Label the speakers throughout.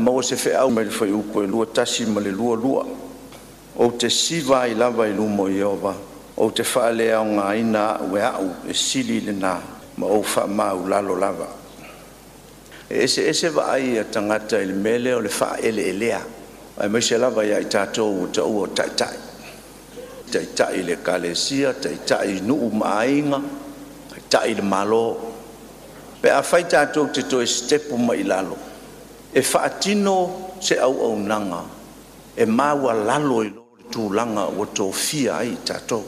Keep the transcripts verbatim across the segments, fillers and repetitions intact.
Speaker 1: maua se feau mai le Fuaiupu e luasefulu tasi ma le luaseulu lua. Ou te siva ai lava i luma o Ieova, ou te faaleaogaina au e au e sili lena ma ou faamaualalo lava. E eseese vaai a tagata i le mea lea o le faaeleelea, aemaise lava ia i tatou ua taua o taitai, taitai i le ekalesia, taitai i nuu ma aiga, taitai i le Malo. Pe afai tatou te toe sitepu mai i lalo e faatino se auaunaga e maualalo i lo le tulaga ua tofia ai i tatou.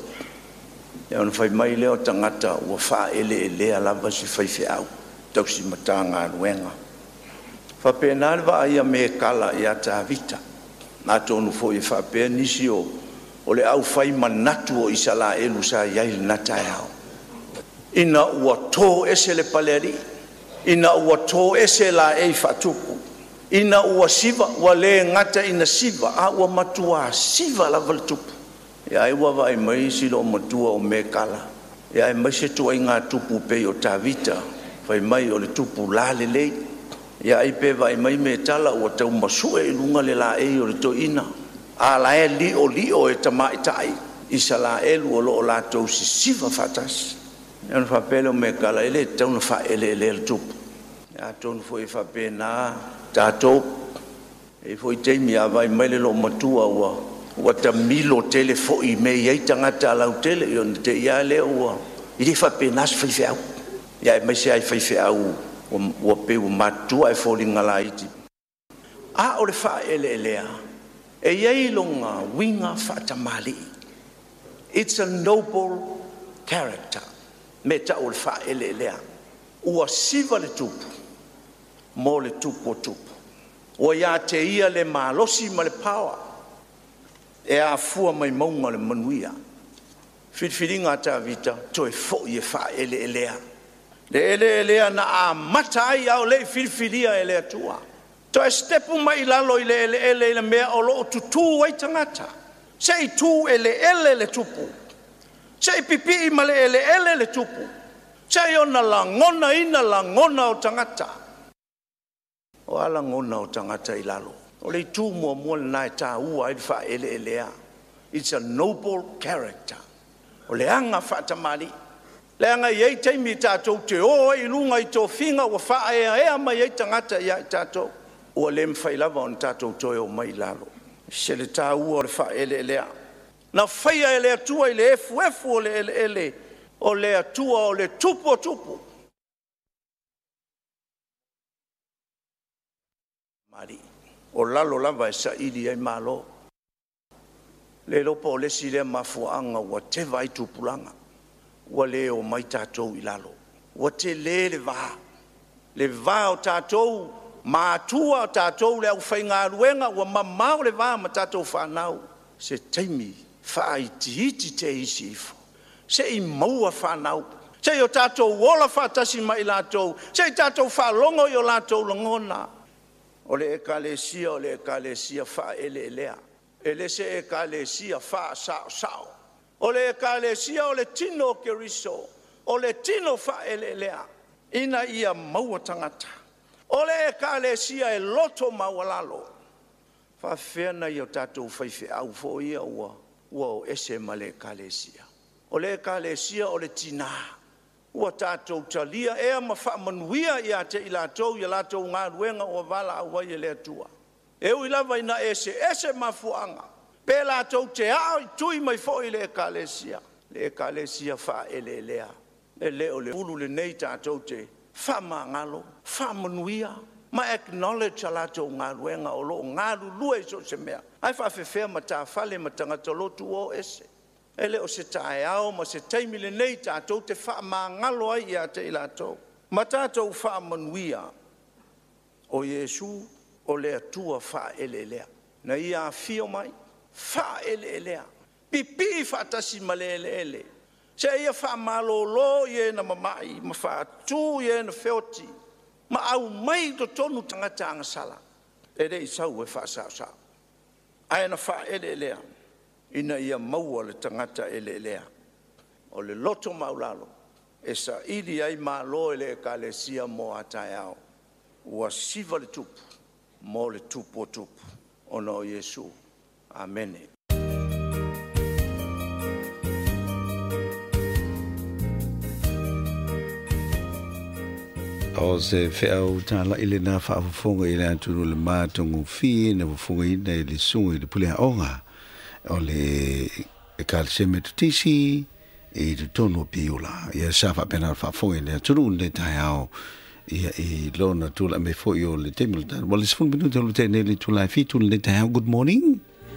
Speaker 1: Ia ona fai mai lea o tagata ua faaeleelea lava si faifeau tausi Matagaluega. E faapena le vaai a Mekala ia Tavita. Atonu foi e faapea nisi o, o le aufai manatu o Isaraelu sa i ai i lena taeao, ina ua to ese le palealii, ina ua to ese laei faatupu, ina ua siva, ua le gata ina siva, a ua matua siva lava le tupu. Ia ai ua vaai mai si loomatua o Mekala, ia aemaise ituaiga tupu pei o Tavita, fai mai o le tupu lalelei. Ia ai pe vaai mai Metala ua tau masue i luga le laei o le toeaina, a la e liolio e tamaitai Isaraelu o lo o latou sisiva faatasi. Ia ona faapea lea o Mekala, e le tatau ona faaeleelea le tupu. Atonu foi e faapena tatou. E i ai foi taimi a vaai mai le loomatua ua ua tamilo tele foi i mea e i ai tagata lautele, ia ona te i lava lea ua… E le faapena se faifeau, ia aemaise lava i faifeau ua, ua pei ua matutua ae foliga laiti. A o le faaeleelea, e i ai lona uiga faatamalii. It's a noble character. Me tau o le faaeleelea. Ua siva le tupu mo le tupu o tupu. Ua ia te ia le malosi ma le paoa e afua mai mauga o le manuia. Filifiliga a Tavita, toe foi e faaeleelea. Le eleelea na amata ai a o le i filifilia e le Atua. Toe sitepu mai i lalo i le eleele i le mea o lo o tutū ai tagata. Se i tu eleele le tupu, se i pipii ma le eleele le tupu, se i ona lagonaina lagona o tagata. O a lagona o tagata i lalo? O le itu muamua lena e taua ai le faaeleelea. It's a noble character. O le aga faatamalii. Leaga e i ai taimi tatou te o ai i luga i tofiga ua faaeaea mai ai tagata ia i tatou. Ua le mafai lava ona tatou toe o mai i lalo. Se le taua o le faaeleelea. Na faia e le Atua i le efuefu o le eleele, o le Atua o le tupu o tupu. O lalo lava e saili ai malo. Le iloa po o le isi lea mafuaaga ua teva ai tupulaga, ua le omai tatou i lalo. Ua tele le va, le va o tatou matua, tatou le aufaigaluega, ua mamao le va ma tatou fanau. Se taimi faaitiiti te isi ifo, se i maua fanau, se i o tatou ola faatasi ma i latou, se i tatou faalogo i o latou lagona. O le ekalesia o le ekalesia faaeleelea, e le se ekalesia faasaosao. O le ekalesia o le tino o Keriso, o le tino faaeleelea, ina ia maua tagata. O le ekalesia e loto maualalo. Faafefea nai o tatou faifeau foi ia ua, ua o ese ma le ekalesia. O le ekalesia o le tina. Ua tatou talia ea ma faamanuia ia te i latou i a latou galuega ua valaau ai e le Atua. E ui lava ina eseese mafuaaga, pe latou te ao i tui mai foi i le ekalesia, le ekalesia faaeleelea. E le o le ulu lenei tatou te faamagalo, faamanuia ma acknowledge a latou galuega o lo o galulue i so o se mea. Ae faafefea matafale ma tagata lotu ua o ese. E le o se taeao ma se taimi lenei tatou te faamagalo ai ia te i latou ma tatou faamanuia. O Iesu o le Atua faaeleelea, na ia afio mai faaeleelea, pipii faatasi ma le eleele, se ia faamalolo i e na mamai ma faatu i e na feoti, ma aumai i totonu tagata agasala. E le i sau e faasaosao, ae na faaeleelea ina ia maua le tagata eleelea. O le loto maulalo e saili ai malo e le ekalesia mo a taeao. Ua siva le tupu mo le tupu o tupu, ona o Iesu. Amene.
Speaker 2: O se feau tāla i le nā whaafofonga i le atunu le mātongu fi na fofonga ina i le sunga i le pule aonga o le e kalse metotisi i te tonu o Piula. Ia sa whaapena whaafonga i le atunu le tai ao ia i lona tula me fo i o le temi le tanu. Wale sefulu minuti o le tene le tula fitu le tai ao. Good morning.